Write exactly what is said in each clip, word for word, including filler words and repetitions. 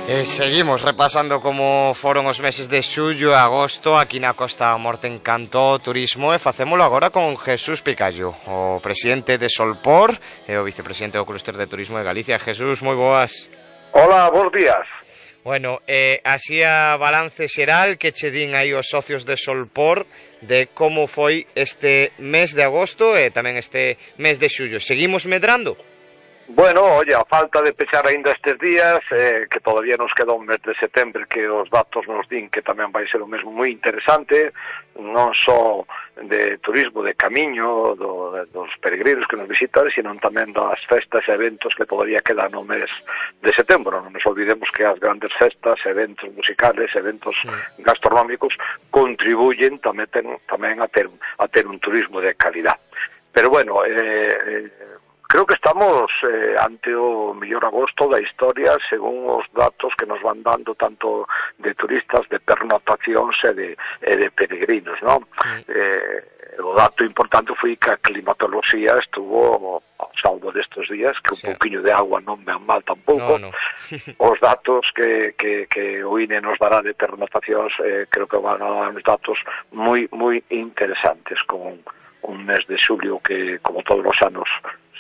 E seguimos repasando como foron os meses de xullo e agosto aquí na Costa da Morte en canto ao turismo, e facémolo agora con Jesús Picallo, o presidente de Solpor e o vicepresidente do Clúster de Turismo de Galicia. Jesús, moi boas. Hola, bons días. Bueno, eh, así a balance xeral que che din aí os socios de Solpor de como foi este mes de agosto e tamén este mes de xullo. Seguimos medrando? Bueno, oye, a falta de pechar aínda estes días, eh, que todavía nos queda un mes de setembro que os datos nos din que tamén vai ser o mesmo moi interesante, non só de turismo, de camiño, do, dos peregrinos que nos visitan, sino tamén das festas e eventos que todavía quedan no mes de setembro. Non nos olvidemos que as grandes festas, eventos musicales, eventos sí. gastronómicos contribuyen tamén, ten, tamén a, ter, a ter un turismo de calidad. Pero bueno, eh, eh creo que estamos eh, ante o mellor agosto da historia, según os datos que nos van dando tanto de turistas, de pernotacións e de, e de peregrinos, non? Sí. Eh, o dato importante foi que a climatoloxía estuvo ao salvo destes días, que un sí. pouquiño de agua non ven mal tampouco. No, no. Os datos que, que, que o I N E nos dará de pernotacións eh, creo que van a dar uns datos moi, moi interesantes, con un mes de xulio que, como todos os anos,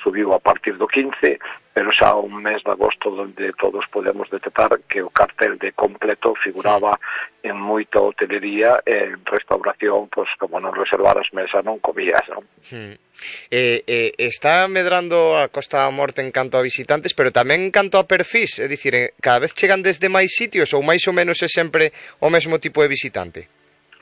subiu a partir do quince, pero xa un mes de agosto onde todos podemos detectar que o cartel de completo figuraba sí. en moita hotelería e en restauración, pois como non reservaras mesa non comías, non? Hmm. Eh, eh, está medrando a Costa da Morte en canto a visitantes, pero tamén en canto a perfis, é dicir, cada vez chegan desde máis sitios ou máis ou menos é sempre o mesmo tipo de visitante?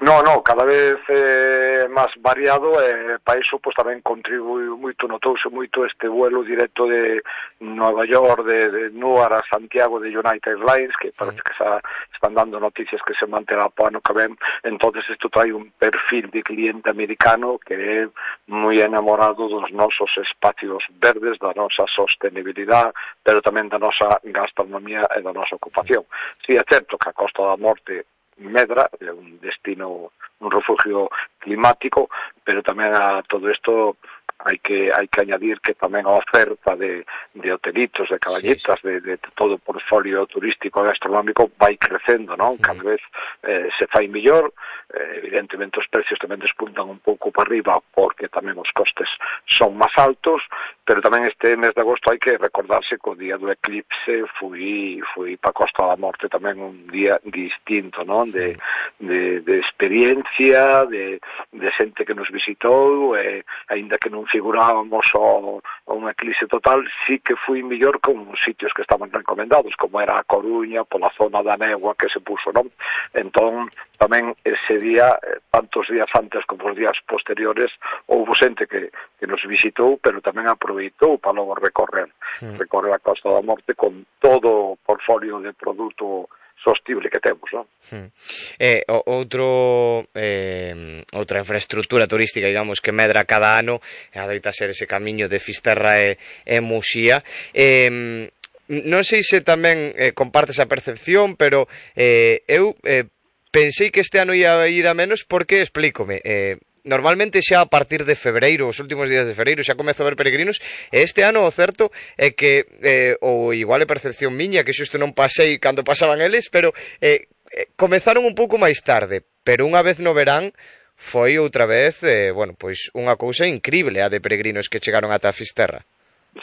No, no, cada vez é eh, máis variado e para iso pois, tamén contribui moito, notouse moito este vuelo directo de Nova York, de, de Newark a Santiago de United Airlines, que parece que xa están dando noticias que se manterá para ano que ven. Entonces isto trae un perfil de cliente americano que é moi enamorado dos nosos espacios verdes, da nosa sostenibilidade, pero tamén da nosa gastronomía e da nosa ocupación. Si é certo que a Costa da Morte medra, é un destino, un refugio climático, pero tamén a todo isto hai que hai que añadir que tamén a oferta de, de hotelitos, de caballetas, sí, sí. De, de todo o portfolio turístico e gastronómico vai crecendo, non? Sí. Cada vez eh, se fai mellor, eh, evidentemente os precios tamén despuntan un pouco para arriba porque tamén os costes son máis altos, pero tamén este mes de agosto hai que recordarse que o día do eclipse fui, fui para Costa da Morte tamén un día distinto, non? De, de, de experiencia, de, de xente que nos visitou, e aínda que non figurábamos o, o un eclipse total, sí que fui mellor con sitios que estaban recomendados, como era a Coruña, pola zona da néboa que se puso, non? Entón, tamén ese día, tantos días antes como os días posteriores, houve xente que, que nos visitou, pero tamén aproveitou para logo recorrer, sí. recorrer a Costa da Morte con todo o portfolio de produto sostible que temos, non? Hmm. Eh, outro eh, outra infraestructura turística, digamos, que medra cada ano adoita ser ese camiño de Fisterra e, e Muxía. Eh, non sei se tamén eh, comparte esa percepción, pero eh, eu eh, pensei que este ano ia ir a menos porque, explícome, eh, normalmente xa a partir de febreiro, os últimos días de febreiro, xa comezo a ver peregrinos, e este ano o certo é que, eh, ou igual é percepción miña, que xusto non pasei cando pasaban eles, pero eh, eh, comezaron un pouco máis tarde, pero unha vez no verán foi outra vez, eh, bueno, pois unha cousa incrible a de peregrinos que chegaron ata a Fisterra.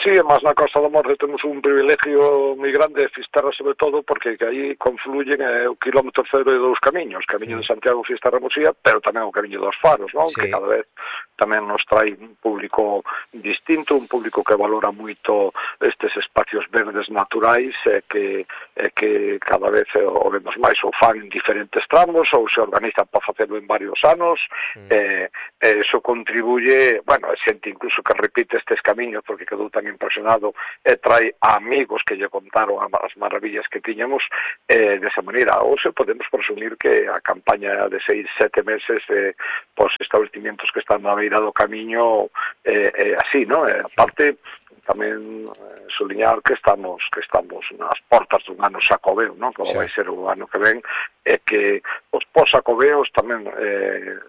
Sí, mas na Costa da Morte temos un privilegio moi grande, Fisterra sobre todo, porque aí confluyen eh, o kilómetro cero e dous camiños, camiño sí. de Santiago, Fisterra, Muxía, pero tamén o camiño dos Faros, non? Sí. Que cada vez tamén nos trae un público distinto, un público que valora moito estes espacios verdes naturais, e que, e que cada vez o vemos máis, ou fan en diferentes tramos, ou se organizan para facelo en varios anos, mm. e, e eso contribuye, bueno, xente incluso que repite estes camiños porque quedou tan impresionado e trae a amigos que lle contaron as maravillas que tiñamos, eh, desa maneira. Hoxe podemos presumir que a campaña de seis, sete meses eh, pos estabelecimientos que están na beira do camiño eh, eh, así, non? E aparte tamén eh, suliñar que estamos que estamos nas portas dun ano xacobeo, non? Como sí. vai ser o ano que ven, e que os pos-xacobeos tamén eh,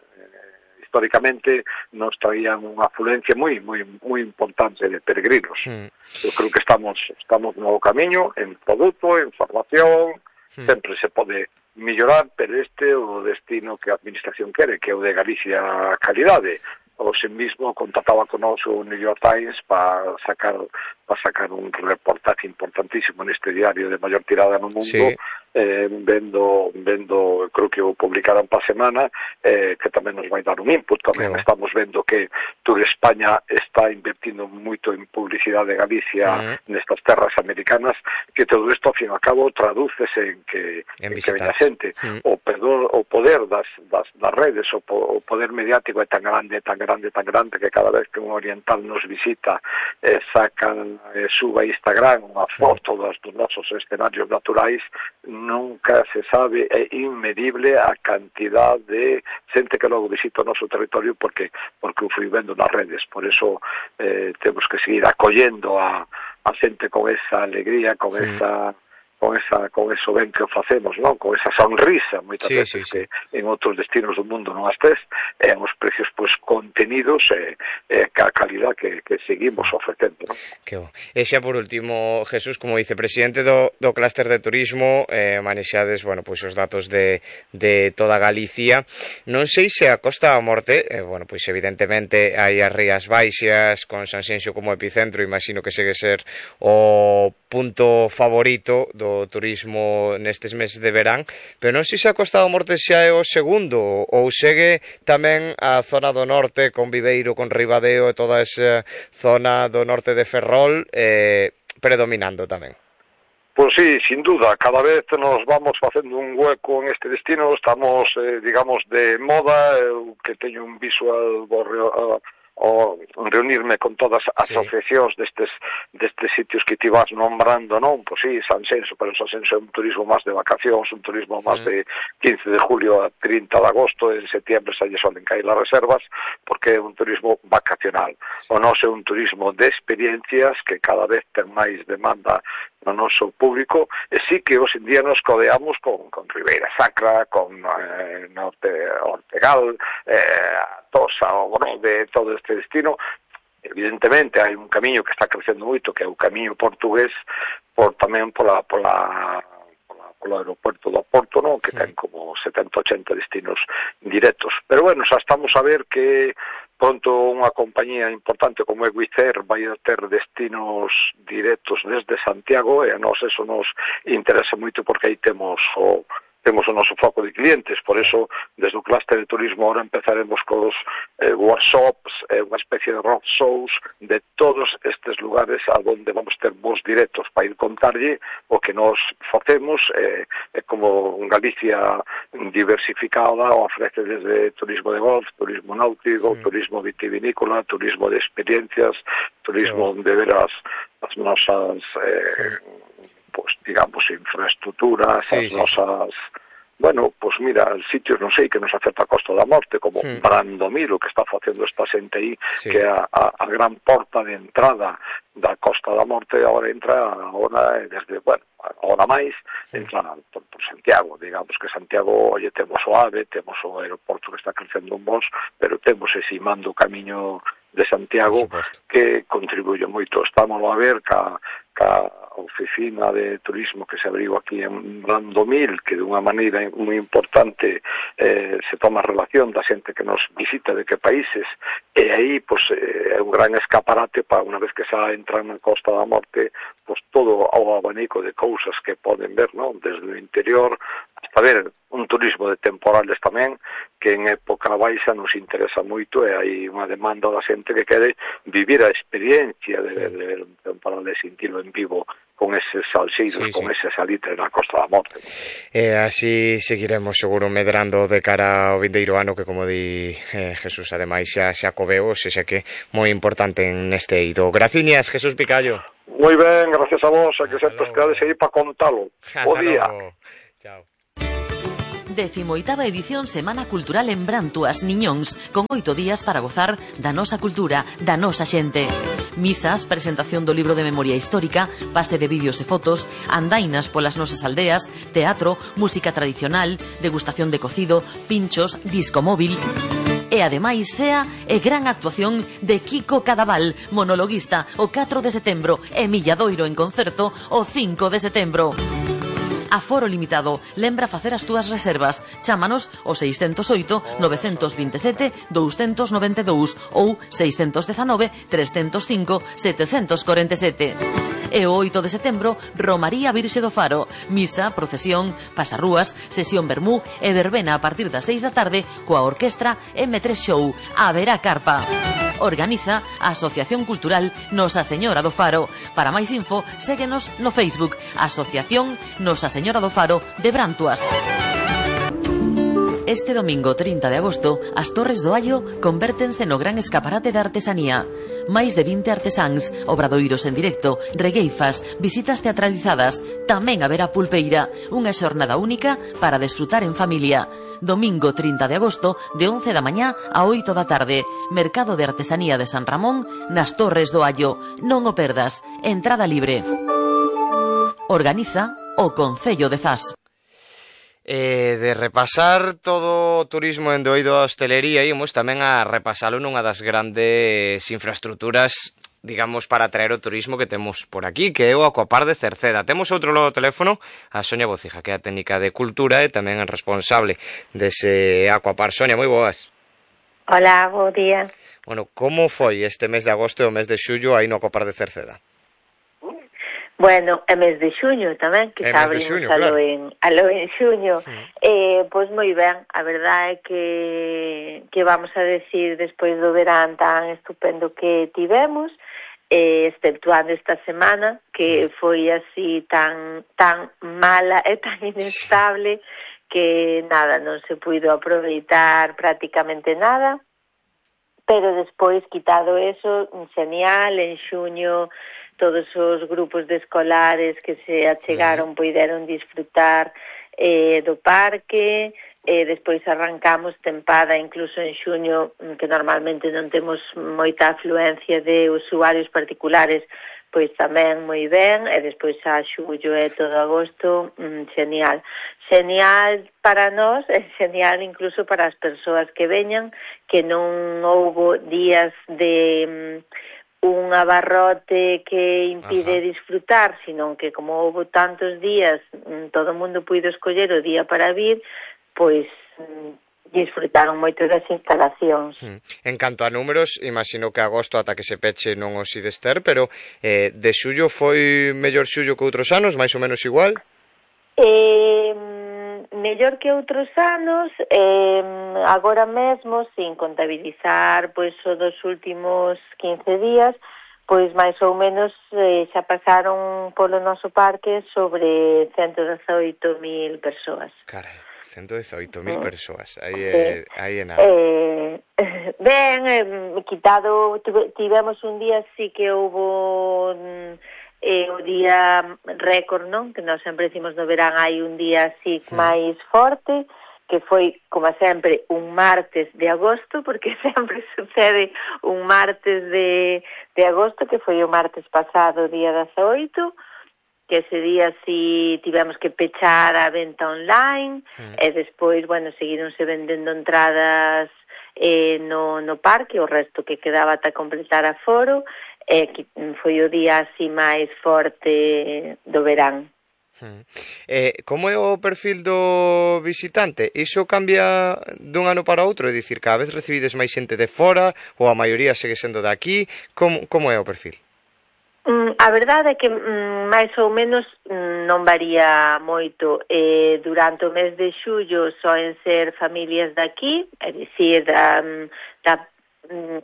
históricamente nos traían unha afluencia moi moi moi importante de peregrinos. Mm. Eu creo que estamos estamos no camiño en produto, en formación, mm. sempre se pode mellorar, pero este é o destino que a administración quere, que é o de Galicia calidade. O sen mismo contactaba con nos o New York Times para sacar para sacar un reportaje importantísimo neste diario de maior tirada no mundo, sí. eh, vendo, vendo, creo que o publicaran para a semana, eh, que tamén nos vai dar un input, tamén claro. Estamos vendo que Tour España está invertindo moito en publicidade de Galicia uh-huh. nestas terras americanas, que todo isto, ao fin e ao cabo, tradúcese en que, en en que ven a xente. Uh-huh. O, poder, o poder das, das, das redes, o, o poder mediático é tan grande, tan grande, tan grande, que cada vez que un oriental nos visita, eh, sacan eh, suba a Instagram unha foto dos, dos nosos escenarios naturais, nunca se sabe, é inmedible a cantidad de xente que logo visita o noso territorio porque porque o fui vendo nas redes. Por eso eh, temos que seguir acollendo a, a xente con esa alegría, con sí. esa con esa con eso ben que o facemos, non? Con esa sonrisa, moitas sí, veces sí, sí. que en outros destinos do mundo non as tes, e os precios pois contenidos e, e a calidad que, que seguimos ofrecendo, non? Que bo. E xa por último, Jesús, como vicepresidente do, do clúster de turismo, eh, manexades, bueno, pois os datos de, de toda Galicia. Non sei se a Costa da Morte, eh, bueno, pois evidentemente hai as Rías Baixas con Sanxenxo como epicentro, imagino que segue ser o punto favorito do turismo nestes meses de verán, pero non sei se a Costa da Morte xa é o segundo ou segue tamén a zona do norte con Viveiro, con Ribadeo e toda esa zona do norte de Ferrol eh, predominando tamén. Pois sí, sin duda, cada vez nos vamos facendo un hueco en este destino, estamos, eh, digamos, de moda, eu que teño un visual borreo, uh, o reunirme con todas as sí. asociacións destes destes sitios que ti vas nombrando, non? Pois sí, Sanxenxo, pero Sanxenxo é un turismo máis de vacacións, un turismo máis mm. de quince de julio a trinta de agosto, en setembro xa lle solen caer as reservas, porque é un turismo vacacional. Sí. O noso é un turismo de experiencias que cada vez ten máis demanda no noso público, e sí que hoxe en día nos codeamos con, con Ribeira Sacra, con eh, Norte Ortegal, eh, Tosa, o bueno, de todo este destino. Evidentemente hai un camiño que está crecendo moito, que é o camiño portugués, por tamén pola pola polo aeropuerto do Porto, non? Que ten como setenta ochenta destinos directos. Pero bueno, xa estamos a ver que pronto unha compañía importante como é Wizz Air vai a ter destinos directos desde Santiago, e a nós eso nos interesa moito porque aí temos o temos o noso foco de clientes, por eso desde o clúster de turismo ahora empezaremos cos eh, workshops, eh, unha especie de road shows de todos estes lugares a donde vamos ter voos directos para ir contarlle o que nos facemos, eh, eh, como Galicia diversificada, ofrece desde turismo de golf, turismo náutico, mm. turismo vitivinícola, turismo de experiencias, turismo sí. de ver as, as nosas eh, pues digamos infraestructuras, sí, as sí. nosas, bueno, pues mira, sitios, non sei, que nos afecta a Costa da Morte, como sí. Brandomiro, que está facendo esta xente aí, sí. que é a, a, a gran porta de entrada da Costa da Morte, agora entra agora desde, bueno, agora máis, sí. entra por, por Santiago, digamos que Santiago, oye, temos o AVE, temos o aeroporto que está crecendo un bons, pero temos ese mando camiño de Santiago que contribuye moito. Estamos a ver ca, ca oficina de turismo que se abriu aquí en Brandomil, que de unha maneira moi importante eh, se toma relación da xente que nos visita de que países, e aí pues, eh, é un gran escaparate para unha vez que xa entran na Costa da Morte, pues todo o abanico de cousas que poden ver, non? Desde o interior hasta ver un turismo de temporales tamén, que en época baixa nos interesa moito, e hai unha demanda da xente que quere vivir a experiencia de, de, de ver un temporal, de sentirlo en vivo con eses salseiros, sí, con sí. ese salitre na Costa da Morte. E así seguiremos seguro medrando de cara ao vindeiro ano, que como di eh, Jesús, ademais xa, xa coveo, xa que moi importante neste eido. Graciñas, Jesús Picallo. Moi ben, gracias a vos, a que sempre quedades aí para contalo. Bo día. Chao. Decimoitava edición Semana Cultural en Brantuas, Niñóns, con oito días para gozar da nosa cultura, da nosa xente. Misas, presentación do libro de memoria histórica, pase de vídeos e fotos, andainas polas nosas aldeas, teatro, música tradicional, degustación de cocido, pinchos, disco móvil. E ademais cea e gran actuación de Kiko Cadaval, monologuista, o catro de setembro, e Milladoiro en concerto o cinco de setembro. Aforo limitado. Lembra facer as túas reservas. Chámanos ao seiscentos oito, novecentos veintisiete, doscientos noventa e dous ou seiscentos dezanove, trescentos cinco, setecentos cuarenta e sete. E o oito de setembro, Romaría Virxe do Faro. Misa, procesión, pasarrúas, sesión vermú e verbena a partir das seis da tarde coa orquestra eme tres Show. Haberá carpa. Organiza a Asociación Cultural Nosa Señora do Faro. Para máis info, séguenos no Facebook Asociación Nosa Señora do Faro de Brantuas. Este domingo trinta de agosto, as Torres do Allo convértense no gran escaparate de artesanía. Máis de vinte artesáns, obradoiros en directo, regueifas, visitas teatralizadas, tamén haberá pulpeira, unha xornada única para desfrutar en familia. Domingo trinta de agosto, de once da mañá a oito da tarde, Mercado de Artesanía de San Ramón, nas Torres do Allo. Non o perdas, entrada libre. Organiza o Concello de Zas. Eh, de repasar todo o turismo en doido a hostelería, ímos tamén a repasalo nunha das grandes infraestructuras, digamos, para atraer o turismo que temos por aquí, que é o Aquapar de Cerceda. Temos outro lado do teléfono, a Sonia Bocija, que é a técnica de cultura e tamén é responsable dese Aquapar. Sonia, moi boas. Hola, bo día. Bueno, como foi este mes de agosto e o mes de xullo aí no Aquapar de Cerceda? Bueno, é mes de xuño tamén, que xa abrimos xuño, alo, claro. en, alo en xuño. Sí. Eh, pois moi ben, a verdade é que, que vamos a decir despois do verán tan estupendo que tivemos, eh, exceptuando esta semana, que foi así tan, tan mala e tan inestable, que nada, non se puido aproveitar prácticamente nada, pero despois, quitado eso, genial, en xuño todos os grupos de escolares que se achegaron puideron disfrutar eh, do parque, eh, despois arrancamos tempada incluso en xuño, que normalmente non temos moita afluencia de usuarios particulares, pois tamén moi ben, e despois a xullo e todo agosto, mm, genial. Genial para nós, e genial incluso para as persoas que veñan, que non houbo días de un abarrote que impide Ajá. disfrutar, sino que como houve tantos días, todo o mundo puido escoller o día para vir, pois disfrutaron moito das instalacións. Hmm. En canto a números, imagino que agosto ata que se peche non os ides ter, pero eh, de xullo foi mellor xullo que outros anos, máis ou menos igual? Eh... mellor que outros anos, eh, agora mesmo, sin contabilizar pois o dos últimos quince días, pois máis ou menos eh, xa pasaron polo noso parque sobre ciento dezaoito mil persoas. Carai, ciento dezaoito mil persoas, aí é, aí é nada. Eh, ben, eh, quitado, tivemos un día sí que houbo... Eh, o día récord, non? Que nós sempre decimos no verán hai un día así sí. máis forte, que foi, como sempre, un martes de agosto, porque sempre sucede un martes de, de agosto, que foi o martes pasado, día dezaoito, que ese día sí tivemos que pechar a venta online, sí. e despois, bueno, seguironse vendendo entradas eh, no, no parque, o resto que quedaba ata completar a foro, e que foi o día así máis forte do verán. Hmm. Eh, como é o perfil do visitante? Iso cambia dun ano para outro? É dicir, cada vez recibides máis xente de fora ou a maioría segue sendo de aquí? Como, como é o perfil? Mm, a verdade é que mm, máis ou menos mm, non varía moito. Eh, durante o mes de xullo soen ser familias de aquí, é dicir, da, da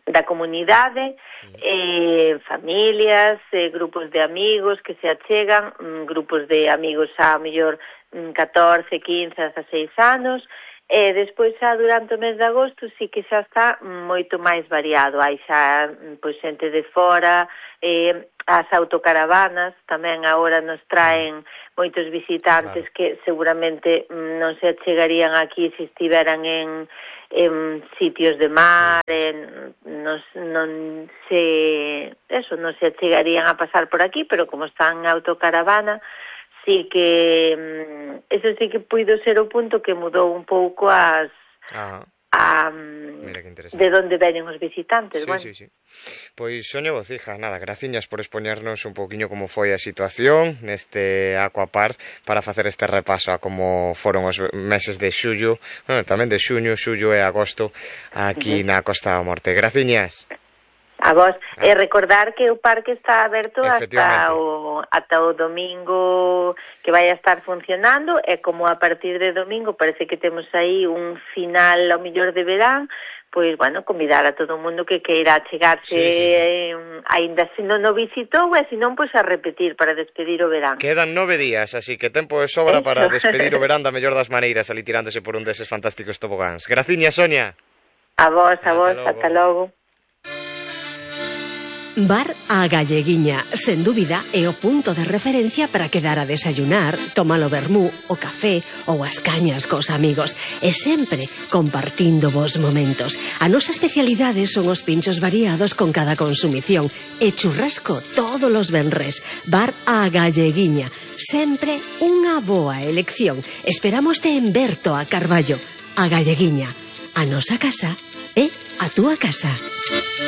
da comunidade, eh, familias, eh, grupos de amigos que se achegan, mm, grupos de amigos a mellor mm, catorce, quince, dezaseis anos, e despois xa durante o mes de agosto sí que xa está moito máis variado, hai xa pois xente de fora, eh, as autocaravanas tamén agora nos traen moitos visitantes claro. que seguramente non se achegarían aquí se estiveran en en sitios de mar, en, non, non se eso, non se achegarían a pasar por aquí, pero como están en autocaravana, sí que eso sí que puido ser o punto que mudou un pouco as Ajá. a de onde veñen os visitantes. Sí, bueno. sí, sí. Pois, Sonia Bocija, nada, graciñas por expoñernos un pouquiño como foi a situación neste Aquapark para facer este repaso a como foron os meses de xullo, bueno, tamén de xuño, xullo e agosto aquí uh-huh. na Costa da Morte. Graciñas. A vos, ah. e recordar que o parque está aberto hasta o, ata o domingo que vai a estar funcionando, e como a partir de domingo parece que temos aí un final ao mellor de verán, pois, bueno, convidar a todo o mundo que queira chegarse, sí, sí. Eh, aínda se non o visitou, e se non, pois a repetir para despedir o verán. Quedan nove días, así que tempo de sobra Eso. Para despedir o verán da mellor das maneiras, ali tirándose por un deses fantásticos tobogáns. Graciña, Sonia. A vos, a vos, ata logo. Bar A Galleguiña, sen dúbida, é o punto de referencia para quedar a desayunar, tomar o vermú, o café ou as cañas cos amigos, e sempre compartindo vos momentos. A nosa especialidade son os pinchos variados con cada consumición e churrasco todos os venres. Bar A Galleguiña, sempre unha boa elección. Esperámoste en Berto a Carballo. A Galleguiña, a nosa casa é a túa casa.